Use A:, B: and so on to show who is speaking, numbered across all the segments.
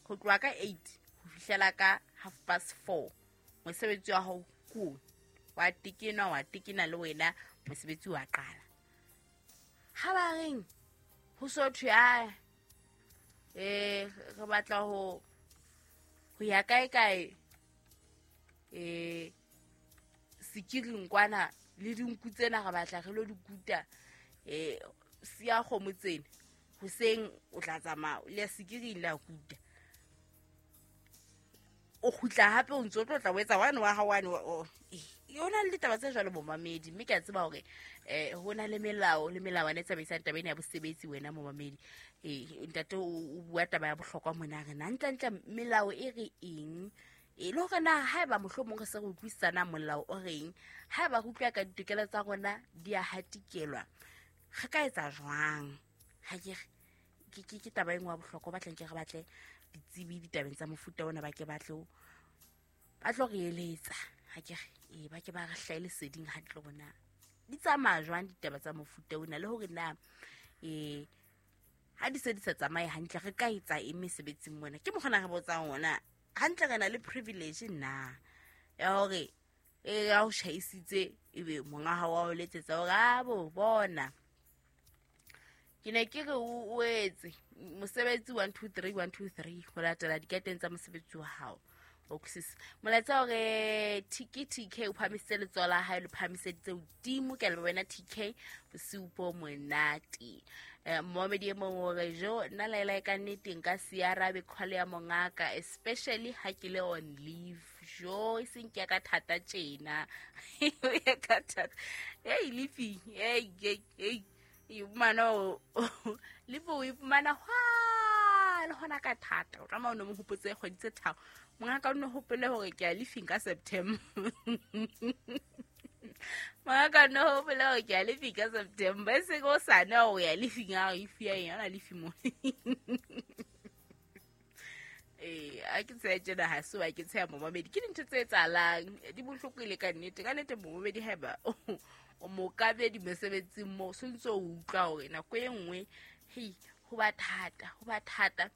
A: Ho tloha ka 8 ho fihlela ka 4:30, mosebetsi wa hao ke ona. Wa tekena, wa tekena le wena, mosebetsi wa qala. Ha ba reng ho so thwe a re batla ho ya kae kae, sekiring kwana le dinku tsena re batla re lo di kuta, siya kgomo tsena hoseng, o tla tsamaya le ya sekiring le ya kuta, o kgutla hape o ntso o tlo tla o etsa wane wa hao wane. Ho na le ditaba tse jwalo, momamedi, mme ke a tseba hore ho na le melao le melawana e tsamaisang taba ena ya bosebetsi. Wena momamedi, ntate o bua taba ya bohlokwa mona, re na ntlentle melao e re eng, e le hore na haeba mohlomong re se re utlwisisana molao o reng, haeba re utlwa ka ditokelo tsa rona di a hatikelwa, re ka etsa jwang? Ha ke re ke taba e nngwe ya bohlokwa, batlang ke re batle ditsebi ditabeng tsa mofuta ona, ba ke ba tlo re eletsa. Ha ke re ba ke ba re hlahe leseding hantle hore na di tsamaya jwang ditaba tsa mofuta ona, le hore na ha di se di sa tsamaye hantle re ka etsa eng mesebetsing mona. Ke mokgona re botsang ona hantle, re na le privilege na ya hore ya o tjhaisitse ebe monga hao wa o letsetsa hore a bo bona ke ne ke re o etse mosebetsi 1 2 3 1 2 3 ho latela dikateng tsa mosebetsi wa hao. O utlwisisa molaetsa hore TK o phahamisitse letsoho la hae, le phahamiseditse hodimo. Ke a leboha wena TK, bosiu bo monate. Momamedi e mong o re, jo nna laela ka nnete nka se arabe call ya mongaka, especially ha ke le on leave. Jo e seng ke ya ka thata tjena, ya ka thata. Hey leafy, hey hey hey, iphumana leafy o iphumana hwa le hona ka thata. O tlameha o no mo hopotse kgwedi tse 3, mongaka o no hopole hore ke a leafing ka September. Mongaka o no hopole hore ke a leafing ka September, e seng o sane hore o ya leafing, a re ifi ya eng, ona leafi mo. A ke tsheya tjena, ha se wa ke tsheya momamedi, ke dintho tse etsahalang, di bohloko e le ka nnete. Ka nnete momamedi, haeba o mokabedi mosebetsing moo, so ntso o utlwa hore nako e nngwe hei ho ba thata, ho ba thata.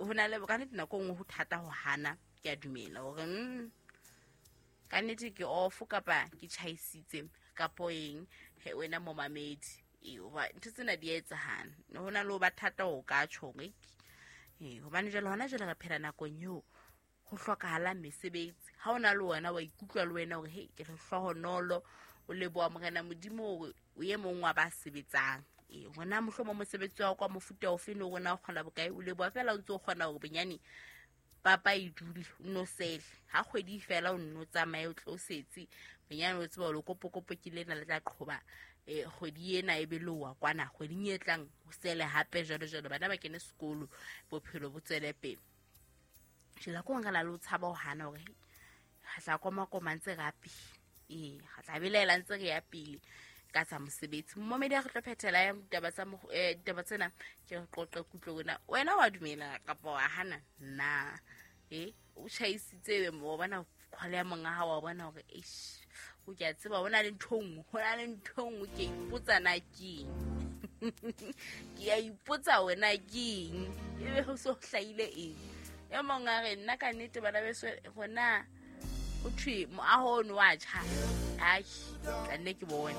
A: Ho na le ka nnete nako e nngwe ho thata ho hana. Ke a dumela hore ka nnete ke off kapa ke tjhaisitse kapo eng, he wena momamedi, hoba ntho tsena di a etsahala, ho na le ho ba thata ho ka tjho hore hobane jwale hona jwale re phela nakong eo ho hlokahalang mesebetsi. Ha o na le wena wa ikutlwa le wena hore hei ke lehlohonolo, o leboha Morena Modimo hore o e mong wa ba sebetsang. Hona mohlomong mosebetsi wa kwa mofuta ofe le hore na o kgola bokae, o leboha fela o ntse o kgona hore bonyane papa e dule, o nno sele ha kgwedi fela, o nno tsamaye o tlo setse bonyane, o tseba hore kopokopo ke lena le tla qhoba kgwedi ena, e be le wa kwana kgweding e tlang o sele hape, jwalo jwalo, bana ba kene sekolo, bophelo bo tswele pele. Jwale ko nka la le o tshaba ho hana hore re tla komakoma ntse re ya pele, re tla belaela ntse re ya pele ka tsa mosebetsi. Momamedi, ha re tlo phethela ya ditaba tsa ditaba tsena, ke re qoqe kutlo wena, wena wa dumela kapa wa hana na? O tjhaisitse mo bona call ya monga hao, wa bona hore eish, o ke a tseba ho na le ntho e nngwe, ho na le ntho e nngwe, ke a ipotsa na ke eng, ke a ipotsa wena ke eng, ebe ho so hlahile eng. E mong a re nna ka nnete bana beso hona ho thwe moaho ono wa tjha, ai tla nne ke bone.